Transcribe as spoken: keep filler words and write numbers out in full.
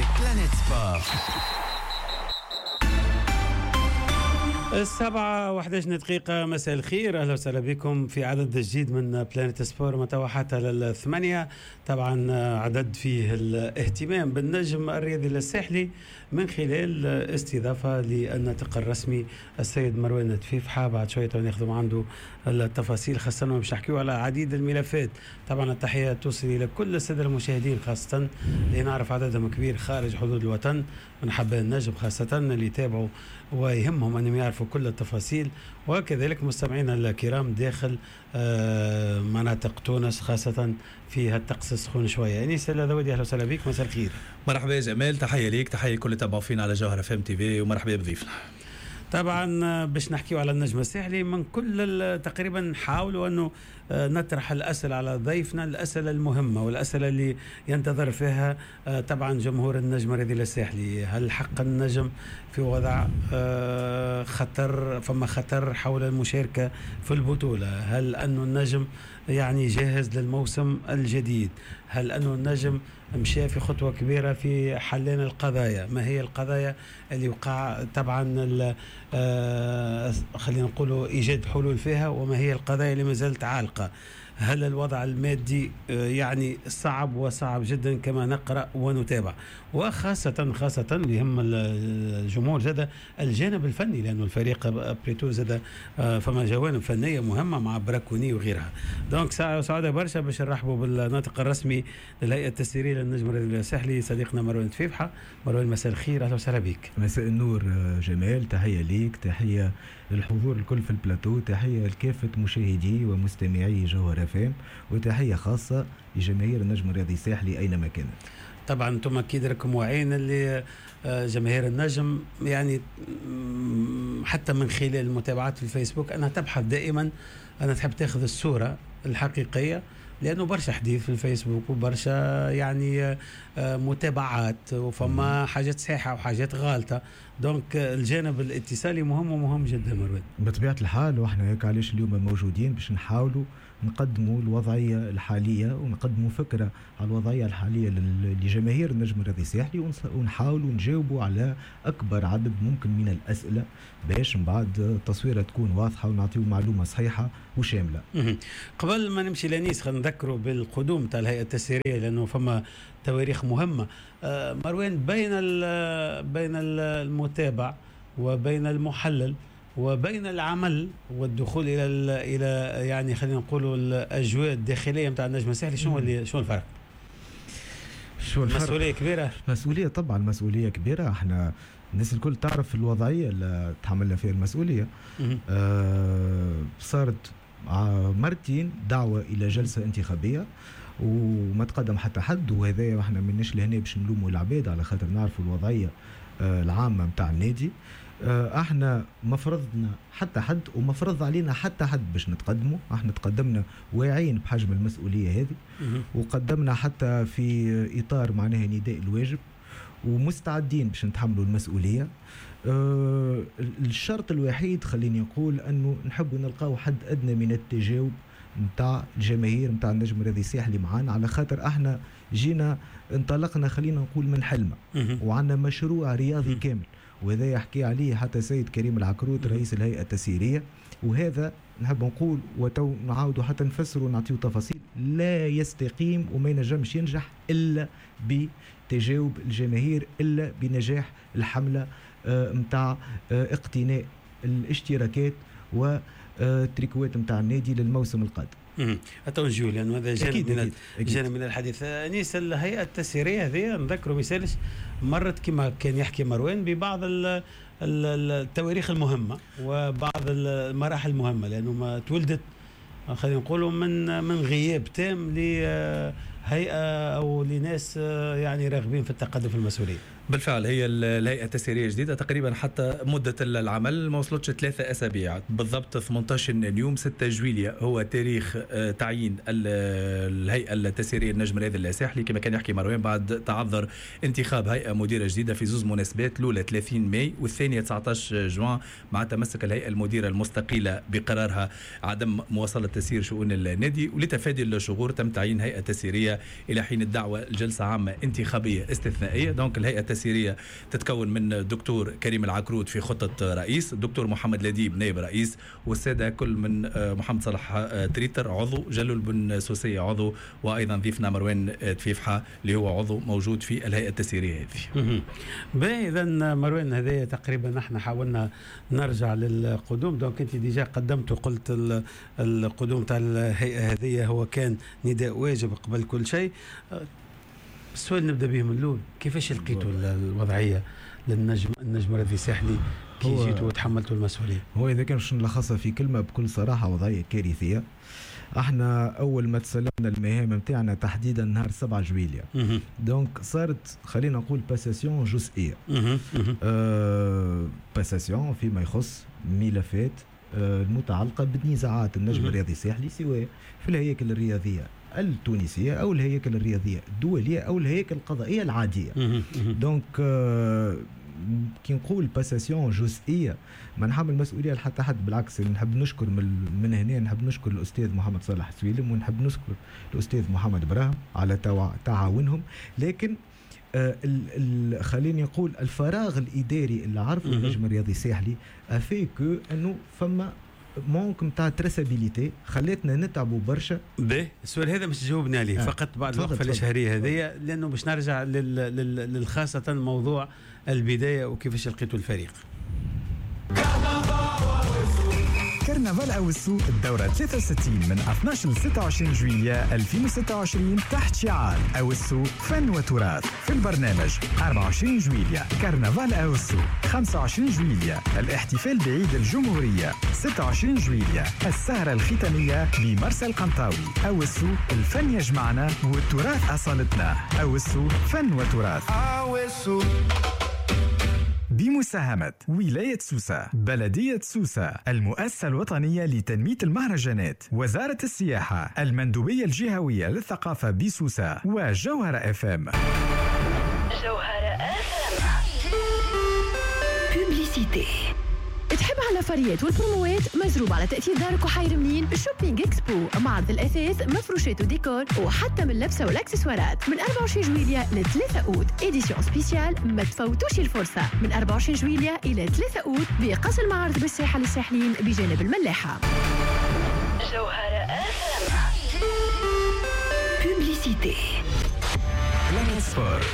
avec Planète Sport. السبعة وحداش دقيقة، مساء الخير، أهلا وسهلا بكم في عدد جديد من Planète Sport من توا حتى للثمانية. طبعا عدد فيه الاهتمام بالنجم الرياضي الساحلي من خلال استضافة للناطق الرسمي السيد مروان تفيفحة. بعد شوية ناخذ عنده التفاصيل، خاصة باش نحكيو على عديد الملفات. طبعا التحية توصل إلى كل السادة المشاهدين، خاصة اللي نعرف عددهم كبير خارج حدود الوطن من حباء النجم، خاصة اللي يتابعوا ويهمهم أنهم يعرفوا كل التفاصيل، وكذلك مستمعينا الكرام داخل مناطق تونس، خاصة في الطقس السخون شوية. أنيس الذوادي، أهلا وسهلا بك، مساء الخير. مرحبا يا جمال، تحية ليك، تحية كل تابعوا فينا على جوهرة اف ام تي في، ومرحبا بضيفنا. طبعا باش نحكيو على النجم الساحلي من كل تقريبا نحاولوا انه نطرح الاسئلة على ضيفنا، الاسئلة المهمة والاسئلة اللي ينتظر فيها طبعا جمهور النجم الرياضي الساحلي. هل حق النجم في وضع خطر، فما خطر حول المشاركة في البطولة؟ هل انه النجم يعني جاهز للموسم الجديد؟ هل انه النجم مشى في خطوة كبيرة في حلين القضايا؟ ما هي القضايا اللي وقع طبعا آه خلينا نقولوا ايجاد حلول فيها، وما هي القضايا اللي ما زالت عالقة؟ هل الوضع المادي آه يعني صعب وصعب جدا كما نقرأ ونتابع؟ وخاصة خاصة اللي يهم الجمهور زاد الجانب الفني، لأنه الفريق بريتو زاد آه فما جوانب فنية مهمة مع براكوني وغيرها. donc سعادة برشا باش نرحبوا بالناطق الرسمي للهيئة التسييرية للنجم الساحلي صديقنا مروان تفيفحة. مروان مساء الخير، أهلا وسهلا بك. مساء النور جمال، تحية ليك، تحية للحضور الكل في البلاتو، تحية لكافة مشاهدي ومستمعي جوهرة اف ام، وتحية خاصة لجماهير النجم الرياضي الساحلي أينما كانت. طبعا انتم اكيد راكم واعيين اللي جماهير النجم يعني حتى من خلال المتابعات في الفيسبوك انها تبحث دائما، انها تحب تاخذ الصورة الحقيقية، لأنه برشا حديث في الفيسبوك وبرشا يعني متابعات، وفما حاجات صحيحة وحاجات غالطة. donc الجانب الاتصالي مهم ومهم جدا مروان. بطبيعة الحال، واحنا هيك علاش اليوم موجودين باش نحاولوا نقدموا الوضعية الحالية ونقدموا فكرة على الوضعية الحالية لجماهير النجم الرياضي الساحلي، ونحاولوا نجاوبوا على أكبر عدد ممكن من الأسئلة باش من بعد التصويرة تكون واضحة ونعطيو معلومة صحيحة وشاملة. قبل ما نمشي لأنيس خلينا نذكروا بالقدوم تاع الهيئة التسييرية، لأنه فما تواريخ مهمة. مروان، بين بين المتابع وبين المحلل وبين العمل والدخول الى الى يعني خلينا نقولوا الاجواء الداخلية نتاع النجم الساحلي، شنو اللي شنو الفرق؟ شو الفرق؟ مسؤولية كبيرة. مسؤولية طبعا، مسؤولية كبيرة. احنا الناس الكل تعرف الوضعية اللي تحملنا فيها المسؤولية. آه صارت مرتين دعوه الى جلسه انتخابية وما تقدم حتى حد، وهذا احنا ماناش لهنا باش نلوموا العباد على خاطر نعرفوا الوضعية العامة نتاع النادي. احنا ما فرضنا حتى حد وما فرض علينا حتى حد باش نتقدموا، احنا تقدمنا واعيين بحجم المسؤولية هذه، وقدمنا حتى في اطار معناها نداء الواجب، ومستعدين باش نتحملوا المسؤولية. اه الشرط الوحيد خليني نقول انه نحبوا نلقاو حد ادنى من التجاوب نتاع الجماهير نتاع النجم الرياضي الساحلي معانا، على خاطر احنا جينا انطلقنا خلينا نقول من حلمه، وعندنا مشروع رياضي كامل، وهذا يحكي عليه حتى سيد كريم العكروت رئيس الهيئة التسييرية. وهذا نحب نقول وتو نعاودوا حتى نفسروا ونعطيو تفاصيل، لا يستقيم وما ينجمش ينجح إلا بتجاوب الجماهير، إلا بنجاح الحملة متاع اقتناء الاشتراكات والتريكوات متاع النادي للموسم القادم. أتو نجيو لأنه هذا جانب من جانب من الحديث. أنيس، الهيئة التسييرية هذه نذكروا مثالش مرت كما كان يحكي مروان ببعض التواريخ المهمة وبعض المراحل المهمة، لأنه ما تولدت خلينا نقولوا من من غياب تام لهيئة أو لناس يعني راغبين في التقدم في المسؤولية. بالفعل هي الهيئة التسييرية جديدة تقريبا، حتى مدة العمل ما وصلتش ثلاثة أسابيع بالضبط، ثمانية عشر يوم، ستة جويلية هو تاريخ تعيين الهيئة التسييرية النجم الرياضي الساحلي كما كان يحكي مروان، بعد تعذر انتخاب هيئة مديرة جديدة في زوز مناسبات، الأولى ثلاثين ماي والثانية تسعة عشر جوان، مع تمسك الهيئة المديرة المستقيلة بقرارها عدم مواصلة تسيير شؤون النادي. ولتفادي الشغور تم تعيين هيئة تسييرية الى حين الدعوة الجلسة عامة انتخابية استثنائية. donc الهيئة التسييريه تتكون من الدكتور كريم العكرود في خطه رئيس، الدكتور محمد لديب نائب رئيس، والسادة كل من محمد صلاح تريتر عضو، جلول بن سوسيه عضو، وايضا ضيفنا مروان تفيفحه اللي هو عضو موجود في الهيئة التسييريه هذه. باهي، اذا مروان هذايا تقريبا نحن حاولنا نرجع للقدوم. donc انت déjà قدمت وقلت القدوم تاع الهيئة هذه هو كان نداء واجب قبل كل شيء. السؤال نبدا به من الاول، كيفاش لقيتوا الوضعية للنجم النجم الرياضي الساحلي كي جيتوا وتحملتوا المسؤولية؟ هو اذا كان باش نلخصها في كلمة بكل صراحة، وضعية كارثية. احنا اول ما تسلمنا المهام نتاعنا تحديدا نهار سبعة جويليا، donc صارت خلينا نقول passation جزئية، أه passation فيما يخص ملفات أه المتعلقة بالنزاعات النجم الرياضي الساحلي، سواء في الهياكل الرياضية التونسية او الهياكل الرياضية الدولية او الهياكل القضائية العادية. donc أه كي نقول passation جزئية ما نحمل مسؤولية لحتى حد، بالعكس نحب نشكر من, من هنا نحب نشكر الاستاذ محمد صالح سويلم ونحب نشكر الاستاذ محمد ابراهيم على تعاونهم، لكن آه خليني نقول الفراغ الاداري اللي عرفه النجم الرياضي الساحلي a fait que انه فما manque نتاع traçabilité خلتنا نتعبوا برشا. باهي، السؤال هذا مش تجاوبني عليه آه. فقط بعد الوقفة الاشهاريه هذه، لانه باش نرجع لل... لل... خاصة موضوع البداية وكيفاش لقيتوا الفريق. كرنفال أوسو الدورة ثلاثة وستين من اثناش ل ستة وعشرين جويلية ألفين وستة وعشرين تحت شعار أوسو فن وتراث. في البرنامج أربعة وعشرين جويلية كرنفال أوسو، خمسة وعشرين جويلية الاحتفال بعيد الجمهورية، ستة وعشرين جويلية السهرة الختامية بمرسى القنطاوي. أوسو الفن يجمعنا والتراث أصالتنا. أوسو فن وتراث. أوسو بمساهمة ولاية سوسة، بلدية سوسة، المؤسسة الوطنية لتنمية المهرجانات، وزارة السياحة، المندوبية الجهوية للثقافة بسوسة، وجوهرة اف ام. جوهرة اف ام. Publicité. تحب على الفريات والبروموات مزروب على تأثير دارك وحير منين؟ Shopping Expo، معرض الأثاث، مفروشات وديكور، وحتى من اللبسة والأكسسوارات، من أربعة وعشرين جويلية ل ثلاثة أوت، édition spéciale، ما تفوتوش الفرصة، من أربعة وعشرين جويلية إلى ثلاثة أوت بقصر المعارض بالساحة للساحلين بجانب الملاحة. جوهرة اف ام. Publicité. Planet Sport.